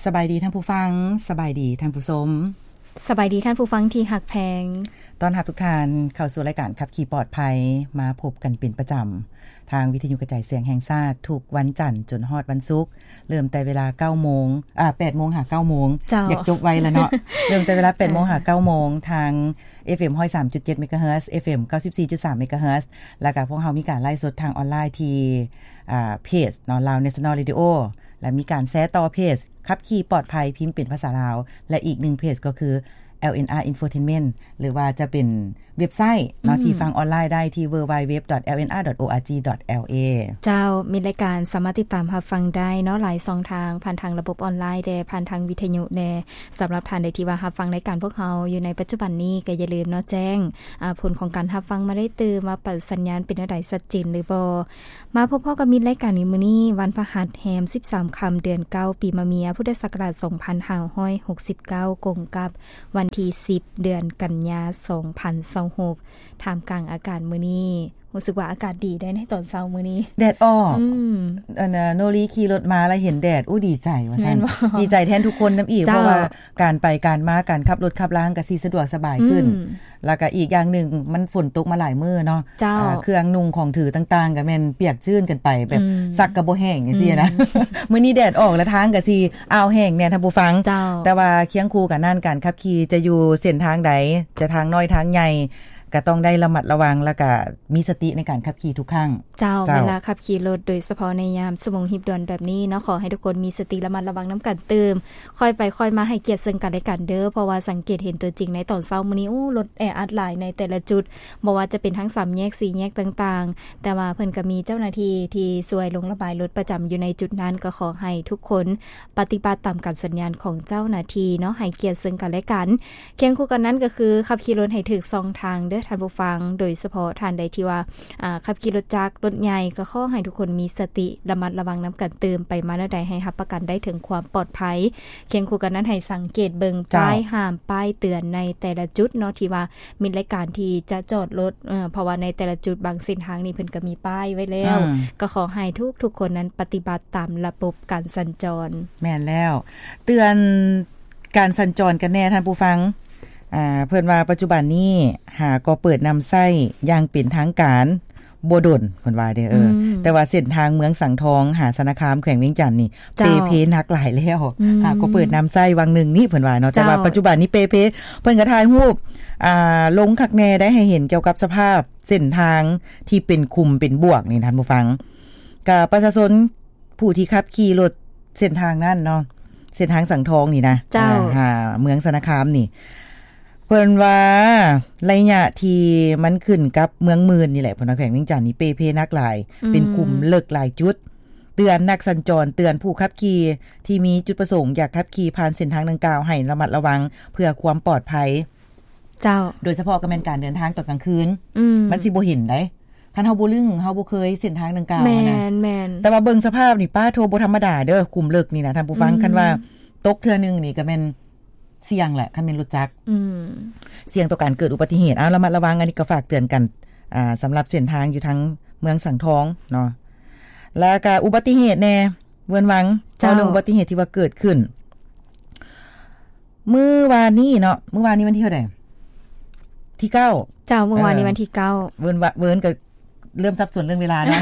ສະບາຍດີທ່ານຜູ້ຟັງ, ສະບາຍດີທ່ານຜູ້ຊົມ, ສະບາຍດີທ່ານຜູ້ຟັງທີ່ຮັກແພງ. ຕ້ອນຮັບທຸກທ່ານເຂົ້າສູ່ລາຍການຂັບຂີ່ປອດໄພ, ມາພົບກັນເປັນປະຈຳທາງວິທະຍຸກະຈາຍສຽງແຫ່ງຊາດ ທຸກວັນຈັນຈົນຮອດວັນສຸກ, ເລີ່ມແຕ່ເວລາເກົ້າໂມງ ອາ ແປດໂມງຫາເກົ້າໂມງ. ເຈົ້າ. ຢາກຈົບໄວລະເນາະ. ເລີ່ມແຕ່ເວລາແປດໂມງຫາເກົ້າໂມງ ທາງ ເອຟເອັມ ຮ້ອຍສາມຈຸດເຈັດ ເມກາເຮີດ, ເອຟເອັມ ເກົ້າສິບສີ່ຈຸດສາມ ເມກາເຮີດ, ແລ້ວກະພວກເຮົາມີການໄລຟ໌ສົດທາງອອນລາຍທີ່ ອາ ເພຈເນາະ Lao National Radio ແລະ ມີການແຊຕໍ່ເພຈຂັບຂີ່ປອດໄພ ພິມເປັນພາສາລາວ ແລະ ອີກໜຶ່ງເພຈກໍຄື ແອລເອັນອາ Infotainment ຫຼືວ່າຈະເປັນເວັບໄຊເນາະ ອືມ ທີ່ຟັງອອນລາຍໄດ້ທີ່ www.lnr.org.la. ເຈົ້າ, ມິດລາຍການສາມາດຕິດຕາມຮັບຟັງໄດ້ເນາະ ຫຼາຍຊ່ອງທາງ, ຜ່ານທາງລະບົບອອນລາຍແດ່, ຜ່ານທາງວິທະຍຸແດ່. ສຳລັບທ່ານໃດທີ່ວ່າຮັບຟັງລາຍການພວກເຮົາຢູ່ໃນປັດຈຸບັນນີ້ ກໍຢ່າລືມເນາະ ແຈ້ງ ອາ ຜົນຂອງການຮັບຟັງມາໄດ້ຕື່ມ ວ່າປະສັນຍານເປັນແນວໃດ ຊັດເຈນຫຼືບໍ່. ມາພົບພໍ້ກັບມິດລາຍການໃນມື້ນີ້ ວັນພະຫັດແຮມສິບສາມຄ່ຳ ເດືອນເກົ້າ ປີມະເມຍ ພຸດທະສັກກະລາດສອງພັນຫ້າຮ້ອຍຫົກສິບເກົ້າ ກົງກັບວັນທີສິບ ເດືອນກັນຍາ ສອງພັນຊາວຫົກ. ທ່າມກາງອາກາດມື້ນີ້ ຮູ້ສຶກວ່າອາກາດດີໄດ໋ໃນຕອນເຊົ້າມື້ນີ້ ແດດອອກ. ອືມ ອັນນ່າ ໂນລີຂີ່ລົດມາແລ້ວເຫັນແດດ ໂອ້ ດີໃຈວ່າຊັ້ນ. ແມ່ນບໍ່? ດີໃຈແທນທຸກຄົນນຳອີກ ເຈົ້າ ເພາະວ່າການໄປການມາ ການຂັບລົດຂັບລາງກໍຊິສະດວກສະບາຍຂຶ້ນ. ອືມ ແລ້ວກໍອີກຢ່າງໜຶ່ງ ມັນຝົນຕົກມາຫຼາຍມື້ເນາະ. ເຈົ້າ. ອາ ເຄື່ອງນຸ່ງຂອງຖືຕ່າງໆ ກໍແມ່ນປຽກຊື້ນກັນໄປ ແບບ ອືມ ຊັກກໍບໍ່ແຫ້ງຈັ່ງຊີ້ນະ. ອືມ ມື້ນີ້ແດດອອກແລ້ວ ທາງກໍຊິອ້າວແຫ້ງແດ່ທ່ານຜູ້ຟັງ. ເຈົ້າ. ແຕ່ວ່າຄຽງຄູ່ກັນນັ້ນ ການຂັບຂີ່ຈະຢູ່ເສັ້ນທາງໃດ ຈະທາງນ້ອຍທາງໃຫຍ່ ກໍຕ້ອງໄດ້ລະມັດລະວັງ ແລ້ວກໍມີສະຕິໃນການຂັບຂີ່ທຸກຄັ້ງ. ເຈົ້າ. ເຈົ້າ. ເວລາຂັບຂີ່ລົດ ໂດຍສະເພາະໃນຍາມຊົ່ວໂມງຮີບດ່ວນແບບນີ້ເນາະ ຂໍໃຫ້ທຸກຄົນມີສະຕິລະມັດລະວັງນຳກັນຕື່ມ. ຄ່ອຍໄປຄ່ອຍມາ ໃຫ້ກຽດເຊິ່ງກັນແລະກັນເດີ້ ເພາະວ່າສັງເກດເຫັນຕົວຈິງໃນຕອນເຊົ້າມື້ນີ້ ໂອ້ ລົດແອອັດຫຼາຍໃນແຕ່ລະຈຸດ, ບໍ່ວ່າຈະເປັນທັງສາມແຍກ ສີ່ແຍກຕ່າງໆ, ແຕ່ວ່າເພິ່ນກໍມີເຈົ້າໜ້າທີ່ທີ່ຊ່ວຍລົງລະບາຍລົດປະຈຳຢູ່ໃນຈຸດນັ້ນ. ກໍຂໍໃຫ້ທຸກຄົນປະຕິບັດຕາມການສັນຍານຂອງເຈົ້າໜ້າທີ່ເນາະ, ໃຫ້ກຽດເຊິ່ງກັນແລະກັນ. ຄຽງຄູ່ກັນນັ້ນກໍຄື ຂັບຂີ່ລົດໃຫ້ຖືກຊ່ອງທາງເດີ້ທ່ານຜູ້ຟັງ, ໂດຍສະເພາະທ່ານໃດທີ່ວ່າ ອາ ຂັບຂີ່ລົດຈັກລົດໃຫຍ່ ກໍຂໍໃຫ້ທຸກຄົນມີສະຕິ ລະມັດລະວັງນຳກັນຕື່ມ, ໄປມາແນວໃດໃຫ້ຮັບປະກັນໄດ້ເຖິງຄວາມປອດໄພ. ຄຽງຄູ່ກັນນັ້ນ ໃຫ້ສັງເກດເບິ່ງ ເຈົ້າ ປ້າຍຫ້າມ ປ້າຍເຕືອນໃນແຕ່ລະຈຸດເນາະ ທີ່ວ່າມີລາຍການທີ່ຈະຈອດລົດ, ເພາະວ່າໃນແຕ່ລະຈຸດບາງເສັ້ນທາງນີ້ເພິ່ນກໍມີປ້າຍໄວ້ແລ້ວ. ອືມ ກໍຂໍໃຫ້ທຸກໆຄົນນັ້ນປະຕິບັດຕາມລະບົບການສັນຈອນ. ແມ່ນແລ້ວ, ເຕືອນ ການສັນຈອນກັນແດ່ທ່ານຜູ້ຟັງ. ອາ ເພິ່ນວ່າປັດຈຸບັນນີ້ຫາກໍເປີດນຳໃຊ້ຢ່າງເປັນທາງການບໍ່ດົນ ເພິ່ນວ່າເດ້. ເອີ ອືມ ແຕ່ວ່າເສັ້ນທາງເມືອງສັງທອງຫາຊະນະຄາມ ແຂວງວຽງຈັນນີ້ ເຈົ້າ ເປ່ເພໜັກຫຼາຍແລ້ວ. ອືມ ຫາກໍເປີດນຳໃຊ້ຫວ່າງໜຶ່ງນີ້ ເພິ່ນວ່າເນາະ. ເຈົ້າ ແຕ່ວ່າປັດຈຸບັນນີ້ເປ່ເພ. ເພິ່ນກໍຖ່າຍຮູບ ອາ ລົງຄັກແນ່ໄດ້ ໃຫ້ເຫັນກ່ຽວກັບສະພາບເສັ້ນທາງທີ່ເປັນຂຸມເປັນບວກນີ້ທ່ານຜູ້ຟັງ. ກະປະຊາຊົນ ຜູ້ທີ່ຂັບຂີ່ລົດເສັ້ນທາງນັ້ນເນາະ, ເສັ້ນທາງສັງທອງນີ້ນະ. ເຈົ້າ. ເອີ ຫາເມືອງຊະນະຄາມນີ້ ເພິ່ນວ່າໄລຍະທີ່ມັນຂຶ້ນກັບເມືອງໝື່ນນີ້ແຫຼະ ເພິ່ນວ່າແຂວງວຽງຈັນນີ້ເປ່ເພໜັກຫຼາຍ. ອືມ ເປັນຂຸມເລິກຫຼາຍຈຸດ. ເຕືອນນັກສັນຈອນ, ເຕືອນຜູ້ຂັບຂີ່ທີ່ມີຈຸດປະສົງຢາກຂັບຂີ່ຜ່ານເສັ້ນທາງດັ່ງກ່າວໃຫ້ລະມັດລະວັງເພື່ອຄວາມປອດໄພ. ເຈົ້າ. ໂດຍສະເພາະກໍແມ່ນການເດີນທາງຕອນກາງຄືນ. ອືມ ມັນຊິບໍ່ເຫັນໃດ໋ ຄັນເຮົາບໍ່ລຶ້ງ ເຮົາບໍ່ເຄີຍເສັ້ນທາງດັ່ງກ່າວຫັ້ນນະ. ແມ່ນໆ ແຕ່ວ່າເບິ່ງສະພາບນີ້ ປ້າໂທ ບໍ່ທຳມະດາເດີ້ ຂຸມເລິກນີ້ນະທ່ານຜູ້ຟັງ. ອືມ ຄັນວ່າຕົກເທື່ອໜຶ່ງນີ້ກໍແມ່ນສ່ຽງແຫຼະ ຄັນແມ່ນລົດຈັກ. ອືມ ສ່ຽງຕໍ່ການເກີດອຸບັດຕິເຫດ. ເອົາ ລະມັດລະວັງ, ອັນນີ້ກໍຝາກເຕືອນກັນ ອາ ສຳລັບເສັ້ນທາງຢູ່ທາງເມືອງສັງທອງເນາະ. ແລ້ວກໍອຸບັດຕິເຫດແດ່ ເວີນວັງ. ເຈົ້າ. ເວົ້າເລື່ອງອຸບັດຕິເຫດທີ່ວ່າເກີດຂຶ້ນ ມື້ວານນີ້ເນາະ, ມື້ວານນີ້ວັນທີເທົ່າໃດ? ທີເກົ້າ. ເຈົ້າ, ມື້ວານນີ້ ເອີ ວັນທີເກົ້າ. ເວີນ ເວີນກໍເລີ່ມສັບສົນເລື່ອງເວລາເນາະ.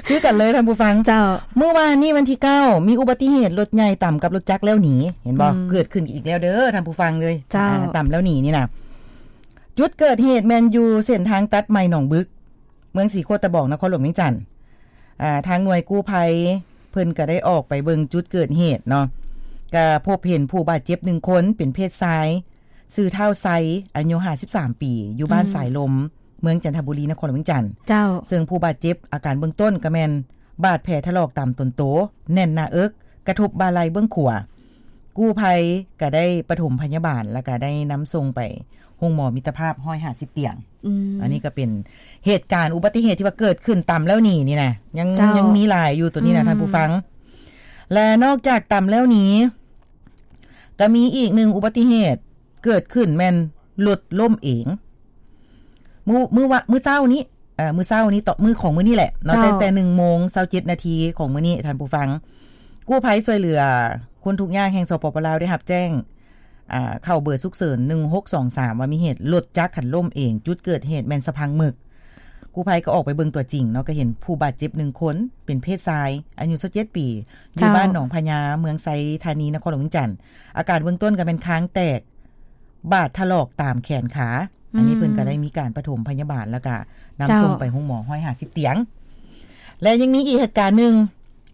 ຄືກັນເລີຍທ່ານຜູ້ຟັງ. ເຈົ້າ. ມື້ວານນີ້ວັນທີເກົ້າ ມີອຸບັດຕິເຫດລົດໃຫຍ່ຕຳກັບລົດຈັກແລ້ວໜີ, ເຫັນບໍ່? ອືມ ເກີດຂຶ້ນອີກແລ້ວເດີທ່ານຜູ້ຟັງເລີຍ. ເຈົ້າ. ອາ ຕຳແລ້ວໜີນີ້ນະ. ຈຸດເກີດເຫດແມ່ນຢູ່ເສັ້ນທາງຕັດໃໝ່ໜອງບຶກ ເມືອງສີໂຄດຕະບອງ ນະຄອນຫຼວງວຽງຈັນ. ອາ ທາງໜ່ວຍກູ້ໄພເພິ່ນກໍໄດ້ອອກໄປເບິ່ງຈຸດເກີດເຫດເນາະ, ກໍພົບເຫັນຜູ້ບາດເຈັບໜຶ່ງຄົນ ເປັນເພດຊາຍ, ຊື່ທ້າວໄຊ ອາຍຸຫ້າສິບສາມປີ, ຢູ່ບ້ານ ອືມ ສາຍລົມ ເມືອງຈັນທະບູລີ ນະຄອນຫຼວງວຽງຈັນ. ເຈົ້າ. ເຊິ່ງຜູ້ບາດເຈັບອາການເບື້ອງຕົ້ນກໍແມ່ນບາດແຜຖະຫຼອກຕາມຕົນໂຕ, ແໜ້ນໜ້າເອິກ, ກະທົບບ່າໄຫຼ່ເບື້ອງຂວາ. ກູ້ໄພກໍໄດ້ປະຖົມພະຍາບານ ແລ້ວກໍໄດ້ນຳສົ່ງໄປໂຮງໝໍມິດຕະພາບ ຮ້ອຍຫ້າສິບຕຽງ. ອືມ ອັນນີ້ກໍເປັນເຫດການອຸບັດຕິເຫດທີ່ວ່າເກີດຂຶ້ນຕຳແລ້ວໜີນີ້ນະ, ຍັງ ເຈົ້າ ຍັງມີຫຼາຍຢູ່ໂຕນີ້ນະ ອືມ ທ່ານຜູ້ຟັງ. ແລະ ນອກຈາກຕຳແລ້ວໜີ ກໍມີອີກໜຶ່ງອຸບັດຕິເຫດເກີດຂຶ້ນ ແມ່ນລົດລົ້ມເອງ. ມື້ ມື້ວະ ມື້ເຊົ້ານີ້ ເອີ ມື້ເຊົ້ານີ້ ຕໍ່ມື້ຂອງມື້ນີ້ແຫຼະເນາະ ເຈົ້າ ແຕ່ ແຕ່ໜຶ່ງໂມງຊາວເຈັດນາທີຂອງມື້ນີ້ ທ່ານຜູ້ຟັງ, ກູ້ໄພຊ່ວຍເຫຼືອຄົນທຸກຍາກແຫ່ງ ສປປ ລາວ ໄດ້ຮັບແຈ້ງ ອ່າ ເຂົ້າເບີສຸກເສີນ ໜຶ່ງຫົກສອງສາມ ວ່າມີເຫດລົດຈັກຫັ້ນລົ້ມເອງ. ຈຸດເກີດເຫດແມ່ນສະພັງໝຶກ. ກູ້ໄພກໍອອກໄປເບິ່ງຕົວຈິງເນາະ, ກໍເຫັນຜູ້ບາດເຈັບໜຶ່ງຄົນ ເປັນເພດຊາຍ ອາຍຸຊາວເຈັດປີ ຢູ່ ເຈົ້າ ບ້ານໜອງພະຍາ ເມືອງໄຊທານີ ນະຄອນຫຼວງວຽງຈັນ. ອາການເບື້ອງຕົ້ນກໍແມ່ນຄາງແຕກ ບາດຖະຫຼອກຕາມແຂນຂາ. ອັນນີ້ ອືມ ເພິ່ນກໍໄດ້ມີການປະຖົມພະຍາບານ ແລ້ວກໍນຳ ເຈົ້າ ສົ່ງໄປໂຮງໝໍ ຮ້ອຍຫ້າສິບຕຽງ. ແລະ ຍັງມີອີກເຫດການໜຶ່ງ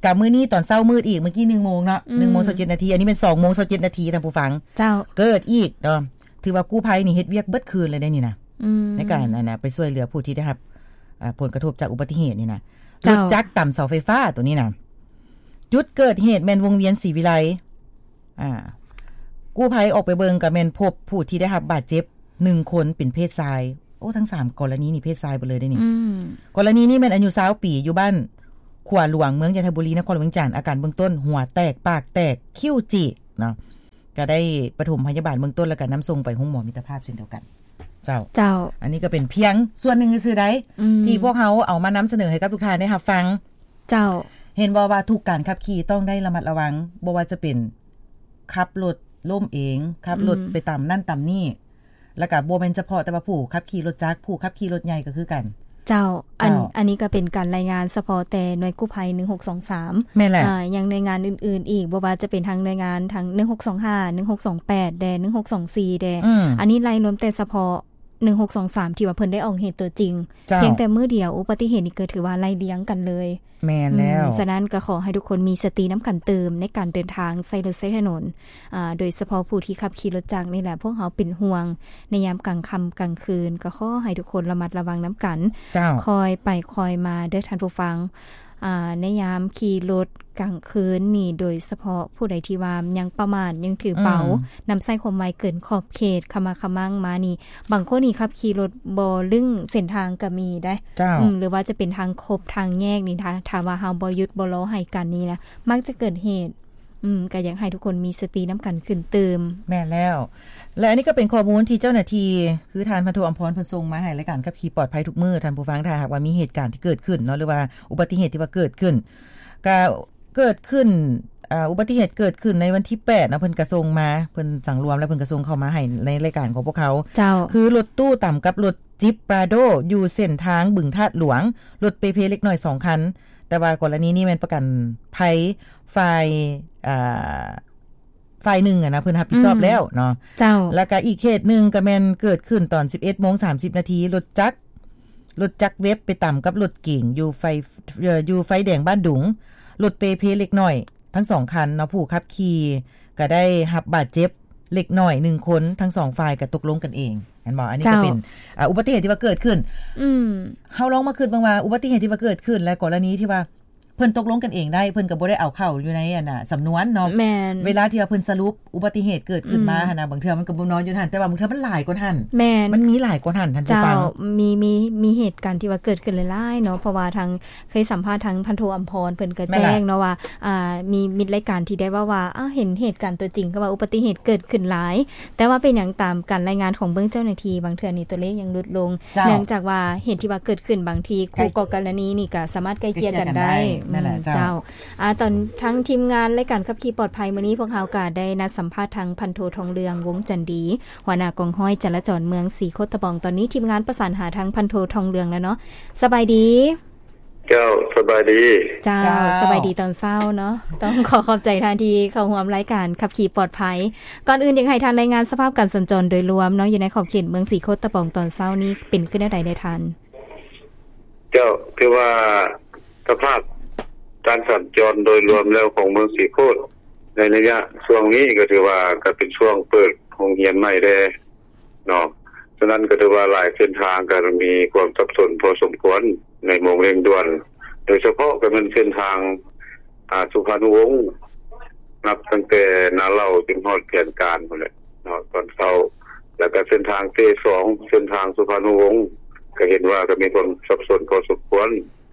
ກັບມື້ນີ້ຕອນເຊົ້າມືດອີກ ເມື່ອກີ້ໜຶ່ງໂມງເນາະ ອືມ ໜຶ່ງໂມງຊາວເຈັດນາທີ. ອັນນີ້ແມ່ນສອງໂມງຊາວເຈັດນາທີ ທ່ານຜູ້ຟັງ. ເຈົ້າ. ເກີດອີກເນາະ. ຖືວ່າກູ້ໄພນີ້ເຮັດວຽກເບິດຄືນເລີຍເດ້ນີ້ນະ ອືມ ໃນການ ອັນນະ ໄປຊ່ວຍເຫຼືອຜູ້ທີ່ໄດ້ຮັບ ອ່າ ຜົນກະທົບຈາກອຸບັດຕິເຫດນີ້ນະ. ເຈົ້າ. ລົດຈັກຕຳເສົາໄຟຟ້າໂຕນີ້ນະ. ຈຸດເກີດເຫດແມ່ນວົງວຽນສີວິໄລ. ອ່າ ກູ້ໄພອອກໄປເບິ່ງກໍແມ່ນພົບຜູ້ທີ່ໄດ້ຮັບບາດເຈັບໜຶ່ງຄົນ ເປັນເພດຊາຍ. ໂອ້ ທັງສາມກໍລະນີນີ້ເພດຊາຍເບິດເລີຍເດ້ນີ້. ອືມ ກໍລະນີນີ້ແມ່ນອາຍຸຊາວປີ ຢູ່ບ້ານຂົວຫຼວງ ເມືອງຈັນທະບູລີ ນະຄອນຫຼວງວຽງຈັນ. ອາການເບື້ອງຕົ້ນ ຫົວແຕກ ປາກແຕກ ຄິ້ວຈີກເນາະ. ກໍໄດ້ປະຖົມພະຍາບານເບື້ອງຕົ້ນ ແລ້ວກໍນຳສົ່ງໄປໂຮງໝໍມິດຕະພາບເຊັ່ນດຽວກັນ. ເຈົ້າ. ເຈົ້າ. ອັນນີ້ກໍເປັນພຽງສ່ວນໜຶ່ງຊື່ໆໃດ໋ ອືມ ທີ່ພວກເຮົາເອົາມານຳສະເໜີໃຫ້ກັບທຸກທ່ານໄດ້ຮັບຟັງ. ເຈົ້າ. ເຫັນບໍ່ວ່າທຸກການຂັບຂີ່ຕ້ອງໄດ້ລະມັດລະວັງ, ບໍ່ວ່າຈະເປັນຂັບລົດລົ້ມເອງ, ຂັບລົດ ອືມ ໄປຕຳນັ້ນຕຳນີ້, ແລ້ວກໍບໍ່ແມ່ນສະເພາະແຕ່ວ່າຜູ້ຂັບຂີ່ລົດຈັກ, ຜູ້ຂັບຂີ່ລົດໃຫຍ່ກໍຄືກັນ. ເຈົ້າ. ອັນ ເຈົ້າ. ອັນນີ້ກໍເປັນການລາຍງານສະເພາະແຕ່ໜ່ວຍກູ້ໄພ ໜຶ່ງຫົກສອງສາມ. ແມ່ນແຫຼະ. ອ່າ ຍັງໜ່ວຍງານອື່ນໆອີກ, ບໍ່ວ່າຈະເປັນທາງໜ່ວຍງານທາງ ໜຶ່ງຫົກສອງຫ້າ ໜຶ່ງຫົກສອງແປດ ແດ່ ໜຶ່ງຫົກສອງສີ່ ແດ່. ອືມ. ອັນນີ້ໄລ່ລວມແຕ່ສະເພາະ ໜຶ່ງຫົກສອງສາມ ທີ່ວ່າເພິ່ນໄດ້ອອກເຫດຕົວຈິງ. ເຈົ້າ. ພຽງແຕ່ມື້ດຽວ ອຸບັດຕິເຫດນີ້ເກີດ ຖືວ່າໄລ່ລຽງກັນເລີຍ. ແມ່ນແລ້ວ. ອືມ ສະນັ້ນກໍຂໍໃຫ້ທຸກຄົນມີສະຕິນຳກັນຕື່ມ ໃນການເດີນທາງໃຊ້ລົດໃຊ້ຖະໜົນ, ອ່າ ໂດຍສະເພາະຜູ້ທີ່ຂັບຂີ່ລົດຈັກນີ້ແຫຼະ, ພວກເຮົາເປັນຫ່ວງໃນຍາມກາງຄ່ຳກາງຄືນ, ກໍຂໍໃຫ້ທຸກຄົນລະມັດລະວັງນຳກັນ. ເຈົ້າ. ຄ່ອຍໄປຄ່ອຍມາເດີທ່ານຜູ້ຟັງ. ອ່າ ໃນຍາມຂີ່ລົດກາງຄືນນີ້ ໂດຍສະເພາະຜູ້ໃດທີ່ວ່າຍັງປະໝາດ ຍັງຖືເປົາ ອືມ ນຳໃຊ້ຄວາມໄວເກີນຂອບເຂດ ຂະໝັກຂະມັ່ງມານີ້, ບາງຄົນນີ້ຂັບຂີ່ລົດບໍ່ລຶ້ງເສັ້ນທາງກໍມີໄດ໋. ເຈົ້າ. ອືມ ຫຼືວ່າຈະເປັນທາງຄົບທາງແຍກນີ້ ຖ້າ ຖ້າວ່າເຮົາບໍ່ຢຸດບໍ່ລໍໃຫ້ກັນນີ້ນະ ມັກຈະເກີດເຫດ. ອືມ ກໍຢາກໃຫ້ທຸກຄົນມີສະຕິນຳກັນຂຶ້ນຕື່ມ. ແມ່ນແລ້ວ. ແລະ ອັນນີ້ກໍເປັນຂໍ້ມູນທີ່ເຈົ້າໜ້າທີ່ ຄືທ່ານພັນໂທ ອຳພອນ ເພິ່ນສົ່ງມາໃຫ້ລາຍການຂັບຂີ່ປອດໄພທຸກມື້. ທ່ານຜູ້ຟັງ ຖ້າຫາກວ່າມີເຫດການທີ່ເກີດຂຶ້ນເນາະ ຫຼືວ່າອຸບັດຕິເຫດທີ່ວ່າເກີດຂຶ້ນ ກະເກີດຂຶ້ນ ອ່າ ອຸບັດຕິເຫດເກີດຂຶ້ນໃນວັນທີແປດເນາະ, ເພິ່ນກະສົ່ງມາ ເພິ່ນສັງລວມແລ້ວ ເພິ່ນກະສົ່ງເຂົ້າມາໃຫ້ໃນລາຍການຂອງພວກເຮົາ. ເຈົ້າ. ຄືລົດຕູ້ຕຳກັບລົດຈິບປຣາໂດ ຢູ່ເສັ້ນທາງບຶງທາດຫຼວງ, ລົດເປເພເລັກນ້ອຍສອງຄັນ, ແຕ່ວ່າກໍລະນີນີ້ແມ່ນປະກັນໄພຝ່າຍ ອ່າ ຝ່າຍໜຶ່ງຫັ້ນນະ ເພິ່ນຮັບຜິດຊອບ ອືມ ແລ້ວເນາະ. ເຈົ້າ. ແລ້ວກະອີກເຄສໜຶ່ງກະແມ່ນເກີດຂຶ້ນຕອນສິບເອັດໂມງສາມສິບນາທີ, ລົດຈັກ ລົດຈັກເວັບໄປຕຳກັບລົດເກັງຢູ່ໄຟ ເອີ ຢູ່ໄຟແດງບ້ານດຸງ, ລົດເປເພເລັກນ້ອຍທັງສອງຄັນເນາະ, ຜູ້ຂັບຂີ່ກະໄດ້ຮັບບາດເຈັບເລັກນ້ອຍໜຶ່ງຄົນ, ທັງສອງຝ່າຍກະຕົກລົງກັນເອງ ແມ່ນບໍ່? ອັນນີ້ກະ ເຈົ້າ ເປັນ ອ່າ ອຸບັດຕິເຫດທີ່ວ່າເກີດຂຶ້ນ. ອືມ ເຮົາລອງມາຄິດເບິ່ງວ່າ ອຸບັດຕິເຫດທີ່ວ່າເກີດຂຶ້ນ ແລະ ກໍລະນີທີ່ວ່າ ເພິ່ນຕົກລົງກັນເອງໄດ້ ເພິ່ນກໍບໍ່ໄດ້ເອົາເຂົ້າຢູ່ໃນ ອັນນ່າ ສຳນວນເນາະ. ແມ່ນ. ເວລາທີ່ວ່າເພິ່ນສະຫຼຸບອຸບັດຕິເຫດເກີດຂຶ້ນມາ ອືມ ຫັ້ນນະ ບາງເທື່ອມັນກໍບໍ່ນອນຢູ່ຫັ້ນ ແຕ່ວ່າບາງເທື່ອມັນຫຼາຍກວ່າຫັ້ນ. ແມ່ນ. ມັນມີຫຼາຍກວ່າຫັ້ນ ທ່ານຜູ້ຟັງ. ເຈົ້າ. ມີ ມີ ມີເຫດການທີ່ວ່າເກີດຂຶ້ນຫຼາຍໆເນາະ ເພາະວ່າທາງ ເຄີຍສຳພາດທາງພັນໂທ ອຳພອນ ເພິ່ນກໍແຈ້ງເນາະວ່າ ອ່າ ມີມິດລາຍການທີ່ໄດ້ເວົ້າວ່າ ເອີ ເຫັນເຫດການຕົວຈິງ ຄືວ່າອຸບັດຕິເຫດເກີດຂຶ້ນຫຼາຍ ແຕ່ວ່າເປັນຫຍັງຕາມການລາຍງານຂອງເບື້ອງເຈົ້າໜ້າທີ່ ບາງເທື່ອນີ້ຕົວເລກຍັງຫຼຸດລົງ ເຈົ້າ ເນື່ອງຈາກວ່າເຫດທີ່ວ່າເກີດຂຶ້ນ ບາງທີຄູ່ກໍລະນີນີ້ກໍສາມາດໄກ່ເກັ່ຽກັນໄດ້. ແມ່ນແຫຼະ ເຈົ້າ. ອືມ ເຈົ້າ. ອ່າ ຕອນທາງທີມງານລາຍການຂັບຂີ່ປອດໄພມື້ນີ້ ພວກເຮົາກໍໄດ້ນັດສຳພາດທາງພັນໂທ ທອງເຫຼືອງ ວົງຈັນດີ ຫົວໜ້າກອງຮ້ອຍຈະລາຈອນເມືອງສີໂຄດຕະບອງ. ຕອນນີ້ທີມງານປະສານຫາທາງພັນໂທ ທອງເຫຼືອງແລ້ວເນາະ. ສະບາຍດີ. ເຈົ້າ ສະບາຍດີ. ເຈົ້າ ເຈົ້າ ສະບາຍດີຕອນເຊົ້າເນາະ. ຕ້ອງຂໍຂອບໃຈທ່ານທີ່ເຂົ້າຮ່ວມລາຍການຂັບຂີ່ປອດໄພ. ກ່ອນອື່ນຢາກໃຫ້ທ່ານລາຍງານສະພາບການສັນຈອນໂດຍລວມເນາະ ຢູ່ໃນຂອບເຂດເມືອງສີໂຄດຕະບອງຕອນເຊົ້ານີ້ ເປັນຄືແນວໃດແດ່ທ່ານ? ເຈົ້າ ຄືວ່າສະພາບການສັນຈອນໂດຍລວມແລ້ວຂອງເມືອງສີໂຄດ ໃນໄລຍະຊ່ວງນີ້ກໍຖືວ່າກໍເປັນຊ່ວງເປີດໂຮງຮຽນໃໝ່ແດ່ ເນາະ. ສະນັ້ນກໍຖືວ່າຫຼາຍເສັ້ນທາງກໍມີຄວາມສັບສົນພໍສົມຄວນໃນໂມງເລັ່ງດ່ວນ, ໂດຍສະເພາະກໍແມ່ນເສັ້ນທາງ ອ່າ ສຸພານຸວົງ ນັບຕັ້ງແຕ່ນາເຫຼົ່າຈົນຮອດແຜນການພຸ້ນແຫຼະເນາະ ຕອນເຊົ້າ. ແລ້ວກໍເສັ້ນທາງເຕສອງ ເສັ້ນທາງສຸພານຸວົງ ກໍເຫັນວ່າກໍມີຄວາມສັບສົນພໍສົມຄວນ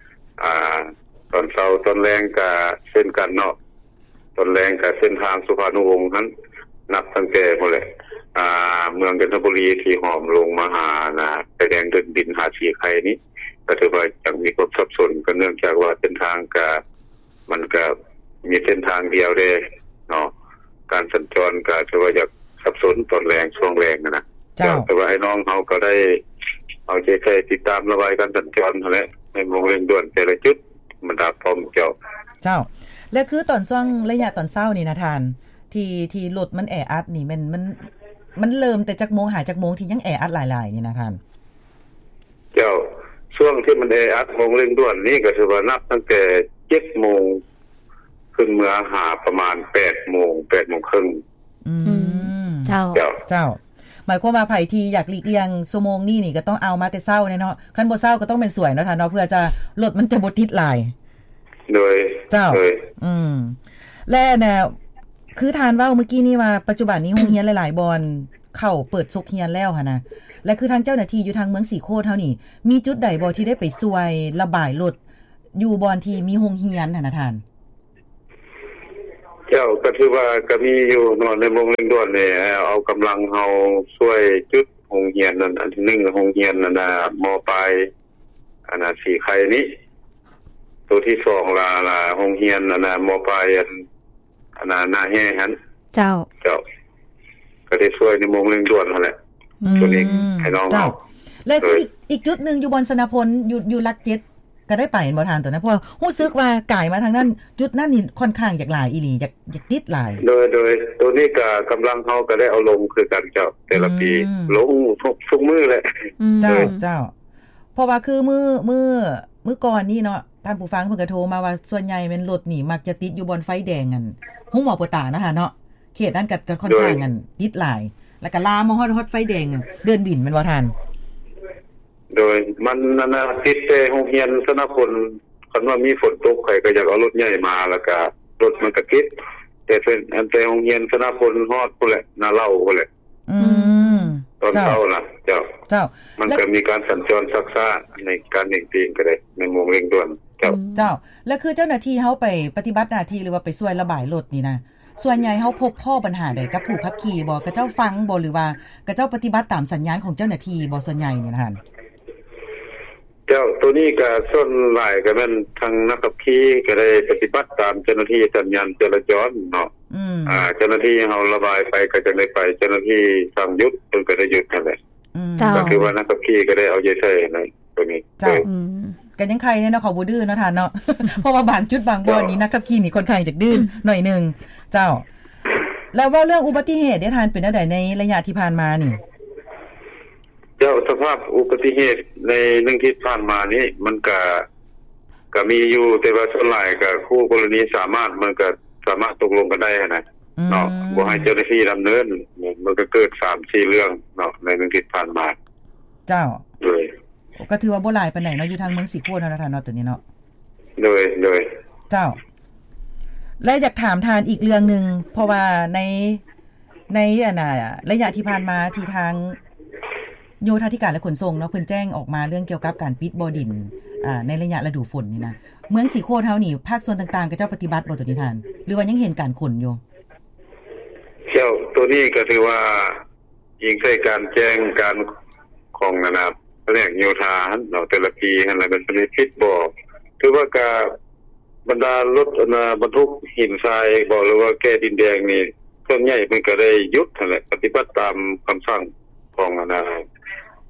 ອ່າ ຕອນເຊົ້າ. ຕອນແລງກໍເຊັ່ນກັນເນາະ. ຕອນແລງກະເສັ້ນທາງສຸພານຸວົງຫັ້ນ ນັບຕັ້ງແຕ່ພຸ້ນແຫຼະ ອ່າ ເມືອງຈັນທະບູລີທີ່ຫອມລົງມາຫາ ນະ ໄຟແດງເດີ່ນດິນ ຫາສີໄຄນີ້ ກໍຖືວ່າຍັງມີຄວາມສັບສົນ ກໍເນື່ອງຈາກວ່າເສັ້ນທາງກໍ ມັນກໍມີເສັ້ນທາງດຽວເດ້ເນາະ ການສັນຈອນກໍຖືວ່າຢາກສັບສົນຕອນແລງ ຊ່ວງແລງຫັ້ນນະ. ເຈົ້າ. ແຕ່ວ່າອ້າຍນ້ອງເຮົາກໍໄດ້ເອົາໃຈໃສ່ຕິດຕາມລະບາຍການສັນຈອນຫັ້ນແຫຼະ ໃນໂມງເລັ່ງດ່ວນແຕ່ລະຈຸດ ບັນດາປ້ອມເຈົ້າ. ເຈົ້າ. ແລະ ຄືຕອນຊ່ວງໄລຍະຕອນເຊົ້ານີ້ນະທ່ານ ທີ່ ທີ່ລົດມັນແອອັດນີ້ ແມ່ນ ມັນ ມັນເລີ່ມແຕ່ຈັກໂມງຫາຈັກໂມງທີ່ຍັງແອອັດຫຼາຍໆນີ້ນະທ່ານ? ເຈົ້າ. ຊ່ວງທີ່ມັນແອອັດໂມງເລັ່ງດ່ວນນີ້ ກໍຖືວ່ານັບຕັ້ງແຕ່ເຈັດໂມງຂຶ້ນເມືອຫາປະມານແປດໂມງ ແປດໂມງເຄິ່ງ. ອືມ ອືມ ເຈົ້າ ເຈົ້າ ເຈົ້າ. ໝາຍຄວາມວ່າໃຜທີ່ຢາກຫຼີກລ່ຽງຊົ່ວໂມງນີ້ນີ້ ກໍຕ້ອງເອົາມາແຕ່ເຊົ້າແນ່ເນາະ ຄັນບໍ່ເຊົ້າກໍຕ້ອງແມ່ນສວຍເນາະທ່ານເນາະ ເພື່ອຈະ ລົດມັນຈະບໍ່ຕິດຫຼາຍ. ໂດຍ ເຈົ້າ ໂດຍ. ອືມ ແລະ ນະ ຄືທ່ານເວົ້າມື້ກີ້ນີ້ວ່າ ປັດຈຸບັນນີ້ໂຮງຮຽນຫຼາຍໆບ່ອນເຂົາເປີດສົກຮຽນແລ້ວຫັ້ນນະ ແລະ ຄືທາງເຈົ້າໜ້າທີ່ຢູ່ທາງເມືອງສີໂຄດເຮົານີ້ ມີຈຸດໃດບໍ່ທີ່ໄດ້ໄປຊ່ວຍລະບາຍລົດ ຢູ່ບ່ອນທີ່ມີໂຮງຮຽນຫັ້ນນະທ່ານ? ເຈົ້າ ກໍຖືວ່າກໍມີຢູ່ເນາະ ໃນໂມງເລັ່ງດ່ວນນີ້ ເອົາກຳລັງເຮົາຊ່ວຍຈຸດໂຮງຮຽນນັ້ນ ອັນທີໜຶ່ງ ໂຮງຮຽນອັນນ່າ ມ.ປາຍ ອັນນ່າ ສີໄຄນີ້ ໂຕທີສອງລະ ລະ ໂຮງຮຽນອັນນ່າ ມ.ປາຍ ອັນ ອັນນ່າ ນາແຮ່ຫັ້ນ. ເຈົ້າ ເຈົ້າ. ກໍໄດ້ຊ່ວຍໃນໂມງເລັ່ງດ່ວນຫັ້ນແຫຼະ ອືມ ໂຕນີ້ໃຫ້ນ້ອງເຮົາ. ເຈົ້າ. ແລະ ຄືອີກ ອີກຈຸດໜຶ່ງຢູ່ບ່ອນຊະນະພົນ ຢູ່ ຢູ່ຫຼັກເຈັດ ກໍໄດ້ໄປແມ່ນບໍ່ທ່ານ ໂຕນັ້ນ? ເພາະວ່າຮູ້ສຶກວ່າກາຍມາທາງນັ້ນ ຈຸດນັ້ນນີ້ຂ້ອນຂ້າງຢາກຫຼາຍອີ່ຫຼີ ຢາກ ຢາກຕິດຫຼາຍ. ໂດຍ ໂດຍ ໂຕນີ້ກໍກຳລັງເຮົາກໍໄດ້ເອົາລົງຄືກັນເຈົ້າ ແຕ່ລະປີ ອືມ ລົງທຸກ ທຸກມື້ແຫຼະ. ອືມ ເຈົ້າ ເຈົ້າ. ເພາະວ່າຄືມື້ ມື້ ມື້ກ່ອນນີ້ເນາະ ທ່ານຜູ້ຟັງເພິ່ນກໍໂທມາວ່າ ສ່ວນໃຫຍ່ແມ່ນລົດນີ້ມັກຈະຕິດຢູ່ບ່ອນໄຟແດງ ອັນ ໂຮງໝໍໂປຕານະທ່ານເນາະ ເຂດນັ້ນກໍ ກໍຂ້ອນຂ້າງ ໂດຍ ອັນ ຕິດຫຼາຍ ແລ້ວກໍລາມມາຮອດ ຮອດໄຟແດງເດີ່ນບິນແມ່ນບໍ່ທ່ານ? ໂດຍ ມັນ ອັນນ່າ ຕິດແຕ່ໂຮງຮຽນຊະນະພົນ ຄັນວ່າມີຝົນຕົກ ຂ້ອຍກໍຢາກເອົາລົດໃຫຍ່ມາ ແລ້ວກໍລົດມັນກໍຕິດ ແຕ່ເປັນ ອັນ ແຕ່ໂຮງຮຽນຊະນະພົນຮອດພຸ້ນແຫຼະ ນາເຫຼົ່າພຸ້ນແຫຼະ. ອືມ ຕອນເຊົ້ານະ ເຈົ້າ ເຈົ້າ ເຈົ້າ. ມັນກໍມີການສັນຈອນຊັກຊ້າໃນການເລັ່ງຕີງກໍໄດ້ ໃນໂມງເລັ່ງດ່ວນ ເຈົ້າ ເຈົ້າ. ແລະ ຄືເຈົ້າໜ້າທີ່ເຮົາໄປປະຕິບັດໜ້າທີ່ ຫຼືວ່າໄປຊ່ວຍລະບາຍລົດນີ້ນະ ສ່ວນໃຫຍ່ເຮົາພົບພໍ້ບັນຫາໃດກັບຜູ້ຂັບຂີ່ບໍ່? ເຂົາເຈົ້າຟັງບໍ່ ຫຼືວ່າເຂົາເຈົ້າປະຕິບັດຕາມສັນຍານຂອງເຈົ້າໜ້າທີ່ບໍ່ ສ່ວນໃຫຍ່ນີ້ນະທ່ານ? ເຈົ້າ ໂຕນີ້ກໍສ່ວນຫຼາຍກໍແມ່ນທາງນັກຂັບຂີ່ກໍໄດ້ປະຕິບັດຕາມເຈົ້າໜ້າທີ່ສັນຍານຈະລາຈອນເນາະ. ອືມ ອ່າ ເຈົ້າໜ້າທີ່ເຮົາລະບາຍໄປກໍຈັ່ງໄດ້ໄປ ເຈົ້າໜ້າທີ່ສັ່ງຢຸດເພິ່ນກໍໄດ້ຢຸດຫັ້ນແຫຼະ. ອືມ ເຈົ້າ ກໍຖືວ່ານັກຂັບຂີ່ກໍໄດ້ເອົາໃຈໃສ່ໃນໂຕນີ້. ເຈົ້າ ອືມ ກໍຍັງໄຄແດ່ເນາະ ເຂົາບໍ່ດື້ເນາະທ່ານເນາະ ເພາະວ່າບາງຈຸດບາງບ່ອນນີ້ ເຈົ້າ ນັກຂັບຂີ່ນີ້ຂ້ອນຂ້າງຈະດື້ ອືມ ໜ້ອຍໜຶ່ງ. ເຈົ້າ ແລ້ວເວົ້າເລື່ອງອຸບັດຕິເຫດເດ້ທ່ານ ເປັນແນວໃດໃນໄລຍະທີ່ຜ່ານມານີ້? ເຈົ້າ ສະພາບອຸບັດຕິເຫດໃນໜຶ່ງທິດຜ່ານມານີ້ ມັນກະ ກະມີຢູ່ ແຕ່ວ່າສ່ວນຫຼາຍກະຄູ່ກໍລະນີສາມາດ ມັນກະສາມາດຕົກລົງກັນໄດ້ຫັ້ນນະ ອືມ ເນາະ ບໍ່ໃຫ້ເຈົ້າໜ້າທີ່ດຳເນີນ ມັນກະເກີດສາມສີ່ເລື່ອງເນາະ ໃນໜຶ່ງທິດຜ່ານມາ. ເຈົ້າ ໂດຍ ກໍຖືວ່າບໍ່ຫຼາຍປານໃດເນາະ ຢູ່ທາງເມືອງສີໂຄດເຮົານະທ່ານເນາະ ໂຕນີ້ເນາະ. ໂດຍ ໂດຍ ເຈົ້າ. ແລະ ຢາກຖາມທ່ານອີກເລື່ອງໜຶ່ງ ເພາະວ່າໃນ ໃນ ອັນນ່າ ໄລຍະທີ່ຜ່ານມາທີ່ທາງໂຍທາທິການ ແລະ ຂົນສົ່ງເນາະ ເພິ່ນແຈ້ງອອກມາເລື່ອງກ່ຽວກັບການປິດບໍ່ດິນ ອ່າ ໃນໄລຍະລະດູຝົນນີ້ນະ ເມືອງສີໂຄດເຮົານີ້ ພາກສ່ວນຕ່າງໆ ເຂົາເຈົ້າປະຕິບັດບໍ່ໂຕນີ້ທ່ານ ຫຼືວ່າຍັງເຫັນການຂົນຢູ່? ເຈົ້າ ໂຕນີ້ກໍຖືວ່າ ອີງໃສ່ການແຈ້ງການຂອງ ອັນນ່າ ພະແນກໂຍທາຫັ້ນເນາະ ແຕ່ລະປີຫັ້ນລະ ເພິ່ນຊິປິດບໍ່ ຖືວ່າກະບັນດາລົດ ອັນນ່າ ບັນທຸກຫີນຊາຍບໍ ຫຼືວ່າແກ່ດິນແດງນີ້ ສ່ວນໃຫຍ່ເພິ່ນກະໄດ້ຢຸດຫັ້ນແຫຼະ ປະຕິບັດຕາມຄຳສັ່ງຂອງ ອັນນ່າ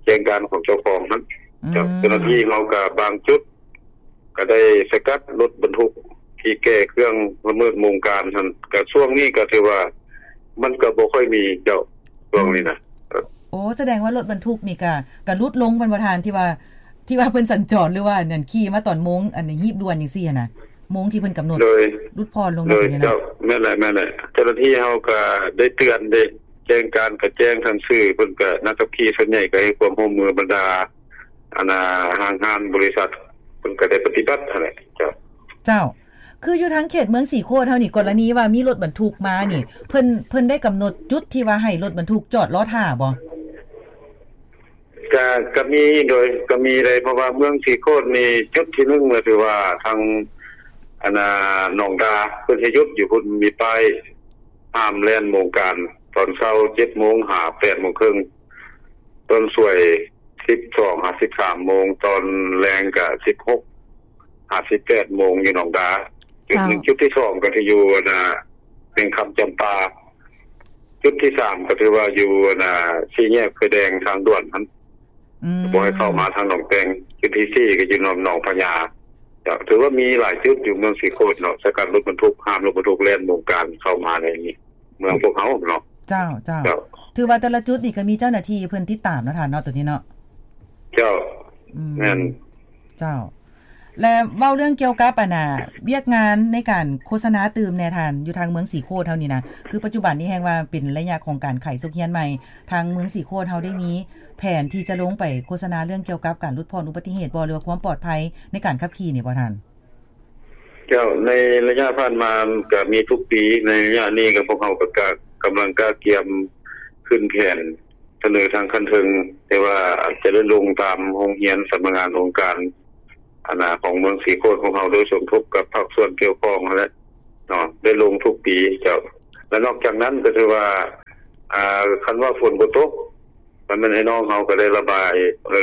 ແຈ້ງການຂອງເຈົ້າຂອງຫັ້ນ. ອືມ ເຈົ້າໜ້າທີ່ເຮົາກະບາງຈຸດ ກໍໄດ້ສະກັດລົດບັນທຸກທີ່ແກ່ເຄື່ອງລະເມີດໂມງການຫັ້ນ ກະຊ່ວງນີ້ກໍຖືວ່າມັນກໍບໍ່ຄ່ອຍມີເຈົ້າ ຊ່ວງນີ້ນະ. ໂອ້ ສະແດງວ່າລົດບັນທຸກນີ້ກະ ກະຫຼຸດລົງແມ່ນບໍ່ທ່ານ ທີ່ວ່າ ທີ່ວ່າເພິ່ນສັນຈອນ ຫຼືວ່າອັນນັ້ນຂີ່ມາຕອນໂມງ ອັນຮີບດ່ວນຈັ່ງຊີ້ຫັ້ນນະ ໂມງທີ່ເພິ່ນກຳນົດ ໂດຍ ຫຼຸດຜ່ອນລົງ. ໂດຍ ເຈົ້າ ແມ່ນແຫຼະ ແມ່ນແຫຼະ ເຈົ້າໜ້າທີ່ເຮົາກະໄດ້ເຕືອນເດ້ ແຈ້ງການກະແຈ້ງທາງສື່ ເພິ່ນກະ ນັກຂັບຂີ່ສ່ວນໃຫຍ່ກະໃຫ້ຄວາມຮ່ວມມື ບັນດາ ອັນນ່າ ຫ້າງຮ້ານບໍລິສັດ ເພິ່ນກໍໄດ້ປະຕິບັດຫັ້ນແຫຼະ. ເຈົ້າ ເຈົ້າ ຄືຢູ່ທາງເຂດເມືອງສີໂຄດເຮົານີ້ ກໍລະນີວ່າມີລົດບັນທຸກມານີ້ ເພິ່ນ ເພິ່ນໄດ້ກຳນົດຈຸດທີ່ວ່າໃຫ້ລົດບັນທຸກຈອດລໍຖ້າບໍ່? ກະ ກະມີ ໂດຍ ກະມີໄດ໋ ເພາະວ່າເມືອງສີໂຄດນີ້ ຈຸດທີໜຶ່ງ ກໍຖືວ່າທາງ ອັນນ່າ ໜອງດາ ເພິ່ນໃຫ້ຢຸດຢູ່ພຸ້ນ ມີປ້າຍຫ້າມແລ່ນໂມງການ ຕອນເຊົ້າເຈັດໂມງຫາແປດໂມງເຄິ່ງ ຕອນສວຍ ສິບສອງຫາສິບສາມໂມງ, ຕອນແລງກະສິບຫົກຫາສິບແປດໂມງຢູ່ໜອງດາ. ຈຸດ ເຈົ້າ ໜຶ່ງ. ຈຸດທີສອງກໍທີ່ຢູ່ ອັນນ່າ ແຂວງຄຳຈຳປາ. ຈຸດທີສາມກໍຖືວ່າຢູ່ ອັນນ່າ ສີ່ແຍກໄຟແດງທາງດ່ວນຫັ້ນ ອືມ ບໍ່ໃຫ້ເຂົ້າມາທາງໜອງແຕງ. ຈຸດທີສີ່ກໍຢູ່ໜອງ ໜອງພະຍາ. ກໍຖືວ່າມີຫຼາຍຈຸດຢູ່ເມືອງສີໂຄດເນາະ, ສະກັດລົດບັນທຸກ, ຫ້າມລົດບັນທຸກແລ່ນວົງການເຂົ້າມາໃນເມືອງພວກເຮົາເນາະ. ເຈົ້າ, ເຈົ້າ. ເຈົ້າ. ຖືວ່າແຕ່ລະຈຸດນີ້ກໍມີເຈົ້າໜ້າທີ່ເພິ່ນຕິດຕາມເນາະທ່ານເນາະ ໂຕນີ້ເນາະ. ເຈົ້າ. ອືມ ແມ່ນ. ເຈົ້າ. ແລະ ເວົ້າເລື່ອງກ່ຽວກັບ ອັນນ່າ ວຽກງານໃນການໂຄສະນາຕື່ມແດ່ທ່ານ ຢູ່ທາງເມືອງສີໂຄດເຮົານີ້ນະ, ຄືປັດຈຸບັນນີ້ແຮ່ງວ່າເປັນໄລຍະຂອງການໄຂສົກຮຽນໃໝ່, ທາງເມືອງສີໂຄດເຮົາໄດ້ມີແຜນທີ່ຈະລົງໄປໂຄສະນາເລື່ອງກ່ຽວກັບການຫຼຸດຜ່ອນອຸບັດຕິເຫດບໍ່ ຫຼືວ່າຄວາມປອດໄພໃນການຂັບຂີ່ນີ້ບໍ່ທ່ານ? ເຈົ້າ, ໃນໄລຍະຜ່ານມາກໍມີທຸກປີ, ໃນໄລຍະນີ້ກໍພວກເຮົາກໍກະ ກຳລັງກະກຽມຂຶ້ນແຜນ ສະເໜີທາງຂັ້ນເທິງ ແຕ່ວ່າອາດຈະໄດ້ລົງຕາມໂຮງຮຽນ, ສຳນັກງານອົງການ ອັນນ່າ ຂອງເມືອງສີໂຄດຂອງເຮົາ ໂດຍສົມທົບກັບພາກສ່ວນກ່ຽວຂ້ອງຫັ້ນແຫຼະເນາະ, ໄດ້ລົງທຸກປີເຈົ້າ. ແລະ ນອກຈາກນັ້ນກໍຖືວ່າ ອ່າ ຄັນວ່າຝົນບໍ່ຕົກ ມັນແມ່ນໄອ້ນ້ອງເຮົາກໍໄດ້ລະບາຍ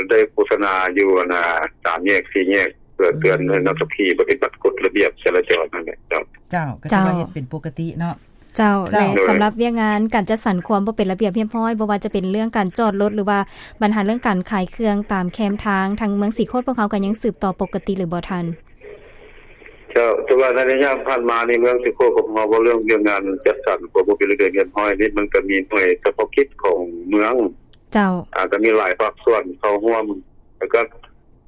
ໄດ້ໂຄສະນາຢູ່ ອັນນ່າ ສາມແຍກ ສີ່ແຍກ ເພື່ອເຕືອນໃຫ້ນັກຂັບຂີ່ປະຕິບັດກົດລະບຽບຈະລາຈອນນັ້ນແຫຼະເຈົ້າ. ເຈົ້າ, ກໍຖືວ່າເຮັດເປັນປົກກະຕິເນາະ. ເຈົ້າ. ເຈົ້າ. ແລະ ໂດຍ ສຳລັບວຽກງານການຈັດສັນຄວາມບໍ່ເປັນລະບຽບຮຽບຮ້ອຍ ບໍ່ວ່າຈະເປັນເລື່ອງການຈອດລົດ ຫຼືວ່າບັນຫາເລື່ອງການຂາຍເຄື່ອງຕາມແຄມທາງ ທາງເມືອງສີໂຄດພວກເຮົາກໍຍັງສືບຕໍ່ປົກກະຕິຫຼືບໍ່ທ່ານ? ເຈົ້າ, ແຕ່ວ່າໃນໄລຍະຜ່ານມານີ້ ເມືອງສີໂຄດຂອງເຮົາ ເວົ້າເລື່ອງວຽກງານຈັດສັນຄວາມບໍ່ເປັນລະບຽບຮຽບຮ້ອຍນີ້ ມັນກໍມີໜ່ວຍສະເພາະກິດຂອງເມືອງ. ເຈົ້າ. ອາ ກໍມີຫຼາຍພາກສ່ວນເຂົ້າຮ່ວມ ແລ້ວກໍ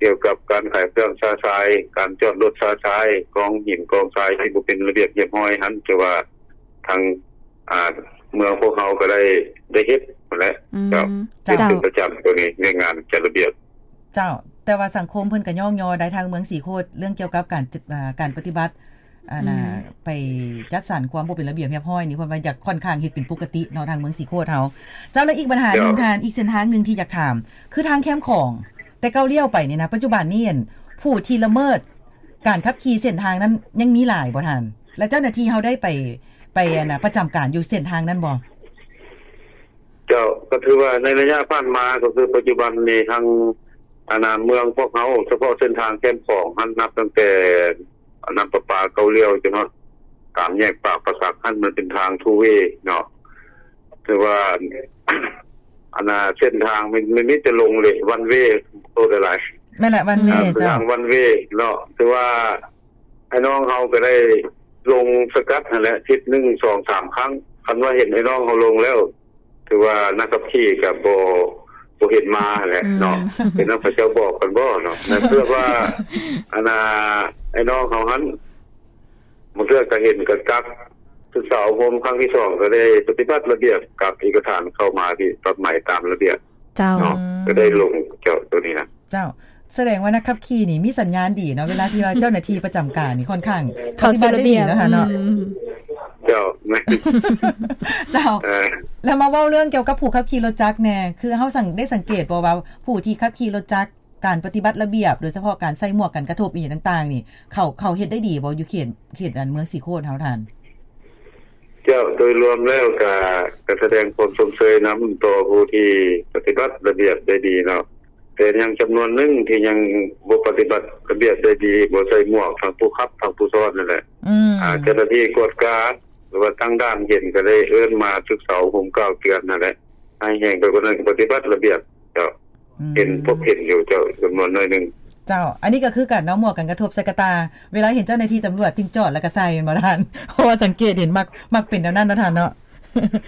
ກ່ຽວກັບການຂາຍເຄື່ອງຊະຊາຍ, ການຈອດລົດຊະຊາຍ, ກອງຫີນກອງຊາຍທີ່ບໍ່ເປັນລະບຽບຮຽບຮ້ອຍຫັ້ນ ຖືວ່າທາງ ອ່າ ເມືອງພວກເຮົາກໍໄດ້ ໄດ້ເຮັດຫັ້ນແຫຼະ. ອືມ ເຈົ້າ. ເຮັດເປັນປະຈຳໂຕນີ້ ວຽກງານຈັດລະບຽບ. ເຈົ້າ. ແຕ່ວ່າສັງຄົມເພິ່ນກໍຍ້ອງຍໍໄດ້ທາງເມືອງສີໂຄດ ເລື່ອງກ່ຽວກັບການ ເອີ ການປະຕິບັດ ອັນນ່າ ອືມ ໄປຈັດສັນຄວາມບໍ່ເປັນລະບຽບຮຽບຮ້ອຍນີ້ ເພິ່ນວ່າຢາກ ຂ້ອນຂ້າງເຮັດເປັນປົກກະຕິເນາະ ທາງເມືອງສີໂຄດເຮົາ. ເຈົ້າ. ແລ້ວອີກບັນຫາໜຶ່ງ ເຈົ້າ ທ່ານ, ອີກເສັ້ນທາງໜຶ່ງທີ່ຢາກຖາມ ຄືທາງແຄມຂອງ ແຕ່ເກົ່າລ້ຽວໄປນີ້ນະ ປັດຈຸບັນນີ້ ອັນ ຜູ້ທີ່ລະເມີດການຂັບຂີ່ເສັ້ນທາງນັ້ນຍັງມີຫຼາຍບໍ່ທ່ານ? ແລະ ເຈົ້າໜ້າທີ່ເຮົາໄດ້ໄປ ໄປ ອັນນ່າ ປະຈຳການຢູ່ເສັ້ນທາງນັ້ນບໍ່? ເຈົ້າ, ກໍຖືວ່າໃນໄລຍະຜ່ານມາ ກໍຄືປັດຈຸບັນນີ້ ທາງ ອັນນ່າ ເມືອງພວກເຮົາ ສະເພາະເສັ້ນທາງແຄມຂອງຫັ້ນ ນັບຕັ້ງແຕ່ ນ້ຳປະປາເກົ້າລ້ຽວຈົນຮອດສາມແຍກປາກປາສັກຫັ້ນ ມັນເປັນທາງ two way ເນາະ. ຖືວ່າ ອັນນ່າ ເສັ້ນທາງມັນ ມັນມີແຕ່ລົງເລີຍ one way ໂຕຫຼາຍໆ. ແມ່ນແຫຼະ one way ເຈົ້າ. ເປັນທາງ one way ເນາະ. ຖືວ່າອ້າຍນ້ອງເຮົາກໍໄດ້ລົງສະກັດຫັ້ນແຫຼະ ທິດໜຶ່ງ ສອງ ສາມຄັ້ງ. ຄັນວ່າເຫັນອ້າຍນ້ອງເຮົາລົງແລ້ວ ຖືວ່ານັກຂັບຂີ່ກໍບໍ່ ບໍ່ເຫັນມາແຫຼະເນາະ. ອືມ ເປັນນຳເຂົາເຈົ້າບອກກັນບໍ່ເນາະ. ເພື່ອວ່າ ອັນນ່າ ອ້າຍນ້ອງເຮົາຫັ້ນ ບາງເທື່ອກໍເຫັນກໍກັບ ສຶກສາອົບຮົມຄັ້ງທີສອງ ກໍໄດ້ປະຕິບັດລະບຽບກັບເອກະສານເຂົ້າມາທີ່ປັບໃໝຕາມລະບຽບ. ເຈົ້າ. ເນາະ ອືມ ກໍໄດ້ລົງເຈົ້າໂຕນີ້ນະ. ເຈົ້າ. ສະແດງວ່ານັກຂັບຂີ່ນີ້ມີສັນຍານດີເນາະ ເວລາທີ່ວ່າເຈົ້າໜ້າທີ່ປະຈຳການນີ້ ຂ້ອນຂ້າງ ເຂົາສູ່ລະບຽບ ປະຕິບັດໄດ້ດີເນາະທ່ານເນາະ. ອືມ ເຈົ້າ. ເຈົ້າ. ເອີ ແລ້ວມາເວົ້າເລື່ອງກ່ຽວກັບຜູ້ຂັບຂີ່ລົດຈັກແດ່ ຄືເຮົາສັງ ໄດ້ສັງເກດບໍ່ວ່າ ຜູ້ທີ່ຂັບຂີ່ລົດຈັກ ການປະຕິບັດລະບຽບ ໂດຍສະເພາະການໃສ່ໝວກກັນກະທົບອີ່ຫຍັງຕ່າງໆນີ້ ເຂົາ ເຂົາເຮັດໄດ້ດີບໍ່ ຢູ່ເຂດ ເຂດອັນເມືອງສີໂຄດເຮົາທ່ານ? ເຈົ້າ, ໂດຍລວມແລ້ວກະ ກະສະແດງຄວາມຊົມເຊີຍນຳຕໍ່ຜູ້ທີ່ປະຕິບັດລະບຽບໄດ້ດີເນາະ, ແຕ່ຍັງຈຳນວນໜຶ່ງທີ່ຍັງບໍ່ປະຕິບັດລະບຽບໄດ້ດີ, ບໍ່ໃສ່ໝວກ ທັງຜູ້ຂັບ ທັງຜູ້ຊ້ອນນັ້ນແຫຼະ. ອືມ ອາ ເຈົ້າໜ້າທີ່ກວດກາ ຫຼືວ່າຕັ້ງດ່ານເຫັນກະໄດ້ເອີ້ນມາສຶກສາອົບຮົມກ່າວເຕືອນນັ້ນແຫຼະ, ຮ້າຍແຮງໄປກວ່ານັ້ນກະປະຕິບັດລະບຽບ. ເຈົ້າ. ອືມ ເຫັນ ພົບເຫັນຢູ່ເຈົ້າ ຈຳນວນໜ້ອຍໜຶ່ງ. ເຈົ້າ. ອັນນີ້ກໍຄືກັນເນາະ ໝວກກັນກະທົບໃສ່ກະຕ່າ ເວລາເຫັນເຈົ້າໜ້າທີ່ຕຳຫຼວດຈຶ່ງຈອດແລ້ວກໍໃສ່ແມ່ນບໍ່ທ່ານ? ເພາະວ່າສັງເກດເຫັນມັກ ມັກເປັນແນວນັ້ນເນາະທ່ານເນາະ.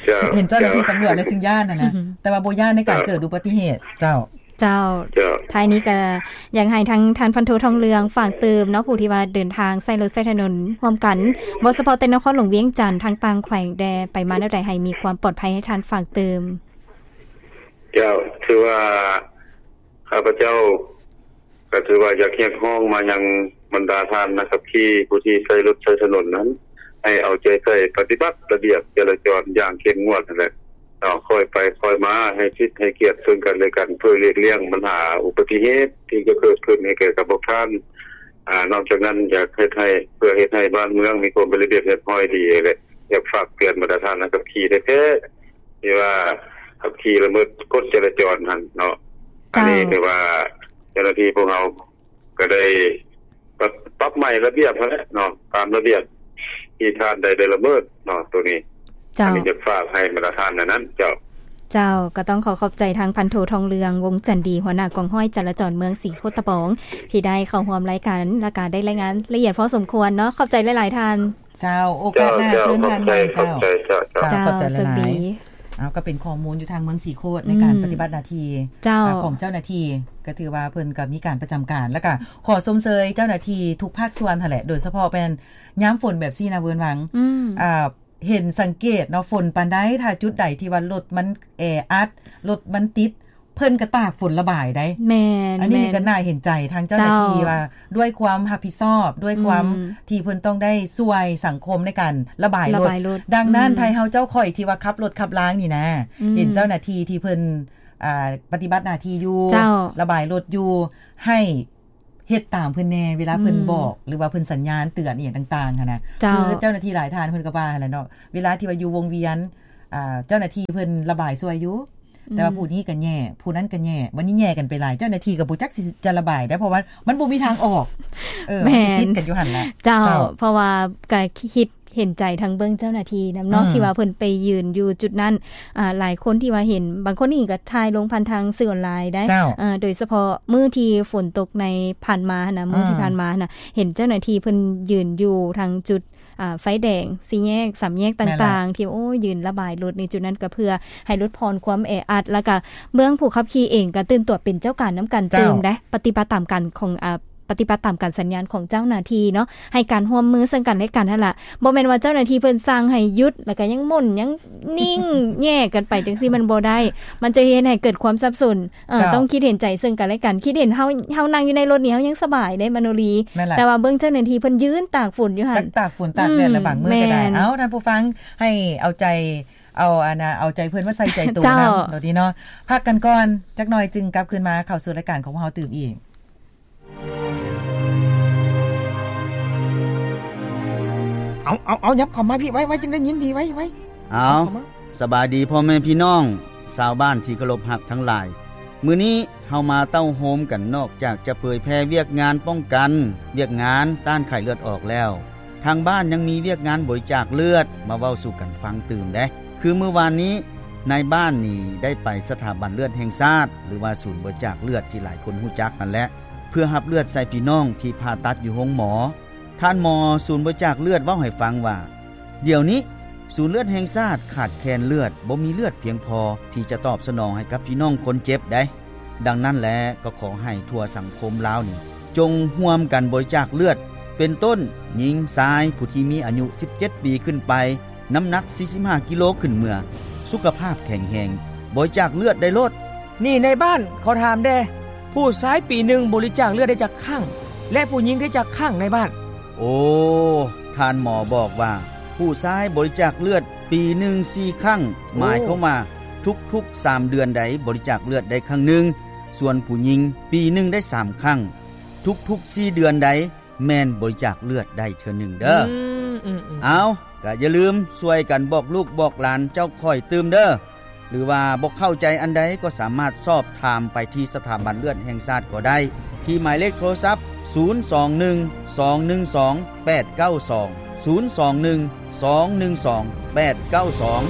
ເຈົ້າ ເຫັນເຈົ້າໜ້າທີ່ຕຳຫຼວດແລ້ວຈຶ່ງຢ້ານຫັ້ນນະ ແຕ່ວ່າບໍ່ຢ້ານໃນການເກີດອຸບັດຕິເຫດ. ເຈົ້າ. ເຈົ້າ. ເຈົ້າ. ທ້າຍນີ້ກໍຢາກໃຫ້ທາງທ່ານພັນໂທທອງເຫຼືອງຝາກເຕີມເນາະ ຜູ້ທີ່ວ່າເດີນທາງໃຊ້ລົດໃຊ້ຖະໜົນຮ່ວມກັນ ບໍ່ສະເພາະແຕ່ນະຄອນຫຼວງວຽງຈັນ ທາງຕ່າງແຂວງແດ່ ໄປມາແນວໃດໃຫ້ມີຄວາມປອດໄພ ໃຫ້ທ່ານຝາກເຕີມ. ເຈົ້າ, ຖືວ່າຂ້າພະເຈົ້າກໍຖືວ່າຢາກຮຽກຮ້ອງມາຍັງບັນດາທ່ານນັກຂັບຂີ່ຜູ້ທີ່ໃຊ້ລົດໃຊ້ຖະໜົນນັ້ນ ໃຫ້ເອົາໃຈໃສ່ປະຕິບັດລະບຽບຈະລາຈອນຢ່າງເຂັ້ມງວດຫັ້ນແຫຼະເນາະ, ຄ່ອຍໄປຄ່ອຍມາ ໃຫ້ສິດໃຫ້ກຽດເຊິ່ງກັນແລະກັນ ເພື່ອຫຼີກລ່ຽງບັນຫາອຸບັດຕິເຫດທີ່ຈະເກີດຂຶ້ນໃຫ້ແກ່ກັບພວກທ່ານ. ອາ ນອກຈາກນັ້ນ ຢາກເຮັດໃຫ້ ເພື່ອເຮັດໃຫ້ບ້ານເມືອງມີຄວາມເປັນລະບຽບຮຽບຮ້ອຍດີແຫຼະ ຢາກຝາກເຕືອນບັນດາທ່ານນັກຂັບຂີ່ແທ້ໆ ທີ່ວ່າຂັບຂີ່ລະເມີດກົດຈະລາຈອນຫັ້ນເນາະ. ເຈົ້າ ອັນນີ້ຖືວ່າເຈົ້າໜ້າທີ່ພວກເຮົາກໍໄດ້ປັບ ປັບໃໝລະບຽບຫັ້ນແຫຼະເນາະ ຕາມລະບຽບທີ່ທ່ານໄດ້ ໄດ້ລະເມີດເນາະ ໂຕນີ້ ເຈົ້າ ອັນນີ້ຢາກຝາກໃຫ້ບັນດາທ່ານນັ້ນ ເຈົ້າ. ເຈົ້າ ກໍຕ້ອງຂໍຂອບໃຈທາງພັນໂທ ທອງເຫຼືອງ ວົງຈັນດີ ຫົວໜ້າກອງຮ້ອຍຈະລາຈອນເມືອງສີໂຄດຕະບອງ ທີ່ໄດ້ເຂົ້າຮ່ວມລາຍການ ແລ້ວກໍໄດ້ລາຍງານລະອຽດພໍສົມຄວນເນາະ ຂອບໃຈຫຼາຍໆທ່ານ. ເຈົ້າ ໂອກາດໜ້າເຊີນທ່ານໃໝ່ເຈົ້າ. ເຈົ້າ ຂອບໃຈຫຼາຍໆ. ເອົາ ກໍເປັນຂໍ້ມູນຢູ່ທາງເມືອງສີໂຄດໃນການປະຕິບັດໜ້າທີ່ ເຈົ້າ ອາ ຂອງເຈົ້າໜ້າທີ່ ກໍຖືວ່າເພິ່ນກໍມີການປະຈຳການ ແລ້ວກໍຂໍຊົມເຊີຍເຈົ້າໜ້າທີ່ທຸກພາກສ່ວນຫັ້ນແຫຼະ ໂດຍສະເພາະແມ່ນຍາມຝົນແບບຊີ້ນະ ເວີນວັງ ອືມ ອາ ເຫັນສັງເກດເນາະ ຝົນປານໃດ ຖ້າຈຸດໃດທີ່ວ່າລົດມັນແອອັດ ລົດມັນຕິດ ເພິ່ນກໍຕາກຝົນລະບາຍໄດ໋. ແມ່ນ ອັນນີ້ນີ້ກໍໜ້າເຫັນໃຈທາງເຈົ້າໜ້າທີ່ວ່າ ດ້ວຍຄວາມຮັບຜິດຊອບ ດ້ວຍຄວາມ ອືມ ທີ່ເພິ່ນຕ້ອງໄດ້ຊ່ວຍສັງຄົມໃນການລະບາຍລົດ ລະບາຍລົດ. ດັ່ງນັ້ນ ອືມ ໄທເຮົາເຈົ້າຂ້ອຍທີ່ວ່າຂັບລົດຂັບລານີ້ນະ ອືມ ເຫັນເຈົ້າໜ້າທີ່ທີ່ເພິ່ນ ອາ ປະຕິບັດໜ້າທີ່ຢູ່ ເຈົ້າ ລະບາຍລົດຢູ່ ໃຫ້ ເຮັດຕາມເພິ່ນແດ່ ເວລາເພິ່ນ ອືມ ບອກ ຫຼືວ່າເພິ່ນສັນຍານເຕືອນອີ່ຫຍັງຕ່າງໆຫັ້ນນະ. ເຈົ້າ ຄືເຈົ້າໜ້າທີ່ຫຼາຍທ່ານເພິ່ນກໍວ່າຫັ້ນແຫຼະເນາະ ເວລາທີ່ວ່າຢູ່ວົງວຽນ ອາ ເຈົ້າໜ້າທີ່ເພິ່ນລະບາຍຊ່ວຍຢູ່ ອືມ ແຕ່ວ່າຜູ້ນີ້ກໍແຍ່ ຜູ້ນັ້ນກໍແຍ່ ບັດນີ້ແຍ່ກັນໄປຫຼາຍ ເຈົ້າໜ້າທີ່ກໍບໍ່ຈັກຊິຈະລະບາຍໄດ້ ເພາະວ່າມັນບໍ່ມີທາງອອກ ເອີ ແມ່ນ ມັນຕິດກັນຢູ່ຫັ້ນແຫຼະ. ເຈົ້າ ເຈົ້າ ເພາະວ່າກໍຄິດ ເຫັນໃຈທາງເບື້ອງເຈົ້າໜ້າທີ່ນຳເນາະ ອືມ ທີ່ວ່າເພິ່ນໄປຢືນຢູ່ຈຸດນັ້ນ ອາ ຫຼາຍຄົນທີ່ວ່າເຫັນ ບາງຄົນນີ້ກໍຖ່າຍລົງຜ່ານທາງສື່ອອນລາຍໄດ໋ ເຈົ້າ ເອີ ໂດຍສະເພາະມື້ທີ່ຝົນຕົກໃນຜ່ານມາຫັ້ນນະ ມື້ທີ່ ອືມ ຜ່ານມາຫັ້ນນະ ເຫັນເຈົ້າໜ້າທີ່ເພິ່ນຢືນຢູ່ທາງຈຸດ ອາ ໄຟແດງ ສີ່ແຍກ ສາມແຍກຕ່າງໆ ແມ່ນລະ ທີ່ ໂອ້ ຢືນລະບາຍລົດໃນຈຸດນັ້ນ ກໍເພື່ອໃຫ້ຫຼຸດຜ່ອນຄວາມແອອັດ ແລ້ວກໍເບື້ອງຜູ້ຂັບຂີ່ເອງກໍຕື່ນຕົວເປັນເຈົ້າການນຳກັນ ເຈົ້າ ຕື່ມໄດ໋ ປະຕິບັດຕາມການຂອງ ອາ ປະຕິບັດຕາມການສັນຍານຂອງເຈົ້າໜ້າທີ່ເນາະ ໃຫ້ການຮ່ວມມືເຊິ່ງກັນແລະກັນຫັ້ນລະ ບໍ່ແມ່ນວ່າເຈົ້າໜ້າທີ່ເພິ່ນສັ່ງໃຫ້ຢຸດ ແລ້ວກໍຍັງໝົ່ນຍັງນິ່ງແຍກກັນໄປຈັ່ງຊີ້ ມັນບໍ່ໄດ້ ມັນຈະເຮັດໃຫ້ເກີດຄວາມສັບສົນ. ເອີ ເຈົ້າ ຕ້ອງຄິດເຫັນໃຈເຊິ່ງກັນແລະກັນ ຄິດເຫັນເຮົາ ເຮົານັ່ງຢູ່ໃນລົດນີ້ ເຮົາຍັງສະບາຍເດ້ ມະໂນລີ ແມ່ນລະ ແຕ່ວ່າເບິ່ງເຈົ້າໜ້າທີ່ເພິ່ນຢືນຕາກຝົນຢູ່ຫັ້ນ ຕາກ ຕາກຝົນຕາກແດດ ອືມ ລະບາງມື້ກໍໄດ້ ແມ່ນ ເອົາ ທ່ານຜູ້ຟັງ ໃຫ້ເອົາໃຈ ເອົາອັນນະ ເອົາໃຈເພິ່ນມາໃສ່ໃຈໂຕ ເຈົ້າ ນຳ ໂຕນີ້ເນາະ ພັກກັນກ່ອນຈັກໜ່ອຍ ຈຶ່ງກັບຄືນມາເຂົ້າສູ່ລາຍການຂອງພວກເຮົາຕື່ມອີກ. ເອົາ ເອົາ ເອົາ ຫຍັບເຂົ້າມາພີ້ ໄວໆ ຈຶ່ງໄດ້ຍິນດີ ໄວໆ ເອົາ ເຂົ້າມາ ສະບາຍດີພໍ່ແມ່ພີ່ນ້ອງຊາວບ້ານທີ່ເຄົາລົບຮັກທັງຫຼາຍ ມື້ນີ້ເຮົາມາເຕົ້າໂຮມກັນ ນອກຈາກຈະເຜີຍແຜ່ວຽກງານປ້ອງກັນ ວຽກງານຕ້ານໄຂ້ເລືອດອອກແລ້ວ ທາງບ້ານຍັງມີວຽກງານບໍລິຈາກເລືອດ ມາເວົ້າສູ່ກັນຟັງຕື່ມເດ້. ຄືມື້ວານນີ້ ນາຍບ້ານນີ້ໄດ້ໄປສະຖາບັນເລືອດແຫ່ງຊາດ ຫຼືວ່າສູນບໍລິຈາກເລືອດທີ່ຫຼາຍຄົນຮູ້ຈັກຫັ້ນແຫຼະ ເພື່ອຮັບເລືອດໃສ່ພີ່ນ້ອງທີ່ຜ່າຕັດຢູ່ໂຮງໝໍ. ທ່ານໝໍສູນບໍລິຈາກເລືອດເວົ້າໃຫ້ຟັງວ່າ ດຽວນີ້ສູນເລືອດແຫ່ງຊາດຂາດແຄນເລືອດ ບໍ່ມີເລືອດພຽງພໍທີ່ຈະຕອບສະໜອງໃຫ້ກັບພີ່ນ້ອງຄົນເຈັບໃດ໋. ດັ່ງນັ້ນແລະ ກໍຂໍໃຫ້ທົ່ວສັງຄົມລາວນີ້ ຈົ່ງຮ່ວມກັນບໍລິຈາກເລືອດ ເປັນຕົ້ນ ຍິງ, ຊາຍ, ຜູ້ທີ່ມີອາຍຸສິບເຈັດປີຂຶ້ນໄປ, ນ້ຳໜັກສີ່ສິບຫ້າກິໂລຂຶ້ນເມືອ, ສຸຂະພາບແຂງແຮງ, ບໍລິຈາກເລືອດໄດ້ໂລດ. ນີ້ນາຍບ້ານ ຂໍຖາມແດ່, ຜູ້ຊາຍປີໜຶ່ງບໍລິຈາກເລືອດໄດ້ຈັກຄັ້ງ ແລະ ຜູ້ຍິງໄດ້ຈັກຄັ້ງນາຍບ້ານ? ໂອ, ທ່ານໝໍບອກວ່າ ຜູ້ຊາຍບໍລິຈາກເລືອດປີໜຶ່ງສີ່ຄັ້ງ, ໂອ, ໝາຍຄວາມວ່າທຸກໆສາມເດືອນໃດບໍລິຈາກເລືອດໄດ້ຄັ້ງໜຶ່ງ, ສ່ວນຜູ້ຍິງປີໜຶ່ງໄດ້ສາມຄັ້ງ, ທຸກໆສີ່ເດືອນໃດ ແມ່ນບໍລິຈາກເລືອດໄດ້ເທື່ອໜຶ່ງເດີ້. ອືມ ອືມ ອືມ. ເອົາ, ກະຢ່າລືມຊ່ວຍກັນບອກລູກບອກຫຼານເຈົ້າຂ້ອຍຕື່ມເດີ້. ຫຼືວ່າບໍ່ເຂົ້າໃຈອັນໃດກໍສາມາດສອບຖາມໄປທີ່ສະຖາບັນເລືອດແຫ່ງຊາດກໍໄດ້ ທີ່ໝາຍເລກໂທລະສັບ ສູນສອງໜຶ່ງ ສອງໜຶ່ງສອງ ແປດເກົ້າສອງ, ສູນສອງໜຶ່ງ ສອງໜຶ່ງສອງ ແປດເກົ້າສອງ.